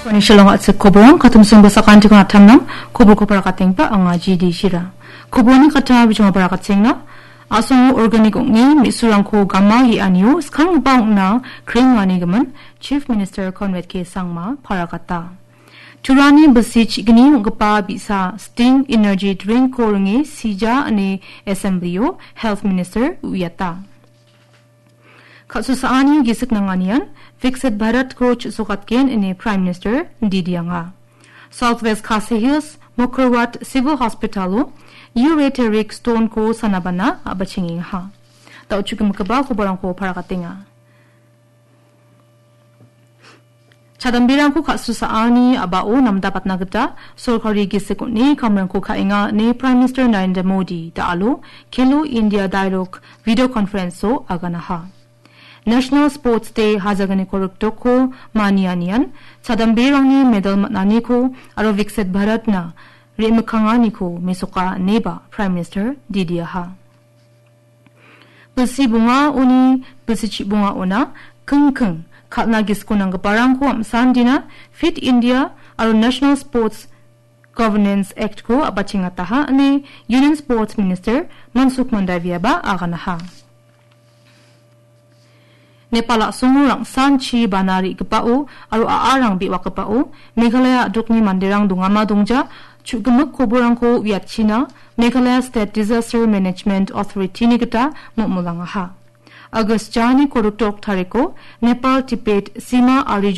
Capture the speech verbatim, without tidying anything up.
Oni shillong a·chik koborang katumsing basakantikon atamnang koborko parakatengba anga G D Shira. Koborni kata bijong parakatengna. A·songo organic ong·e me·surangko gama ge·anio skanggipa ong·na krenganigimin Chief Minister Conrad K Sangma parakata. Turani bilsi chi·gni ong·gipa bi·sa Sting Energy Drinkko ringe sija ine Assembly-o Health Minister uiata. Kal·susaani gisik nanganian Viksit Bharatko chu·sokatgen ine Prime Minister didianga. South West Khasi Hills Mawkyrwat Civil Hospital-o ureteric stone-ko sanabana a·bachengengaha. Da·o chu·gimigipa koborangko parakatenga. Chadamberangko kal·susaani a·bao namdapatna gita sorkari gisik on·e kamrangko ka·enga ine Prime Minister Narendra Modi da·alo Khelo India Dialogue video conference-o aganaha. National Sports Day hajaganiko riktoko manianian chadamberangni medal man·aniko aro Viksit Bharatna re·mikkanganiko mesoka ineba Prime Minister didiaha. Bilsi bongaoni bilsi chi·bongaona kingking kal·na gisiko nanggiparangko am·sandina Fit India aro National Sports Governance Act-ko a·bachengataha ine Union Sports Minister Mansukh Mandaviaba aganaha. Nepal a·songo rangsanchi bana re·gipao aro a·arang be·wakgipao Meghalaya a·dokni manderang dongama dongja chu·gimik koborangko uiatchina Meghalaya State Disaster Management Authority-ni gita mo·molangaha. August jani korokdok tariko Nepal Tibet sima ari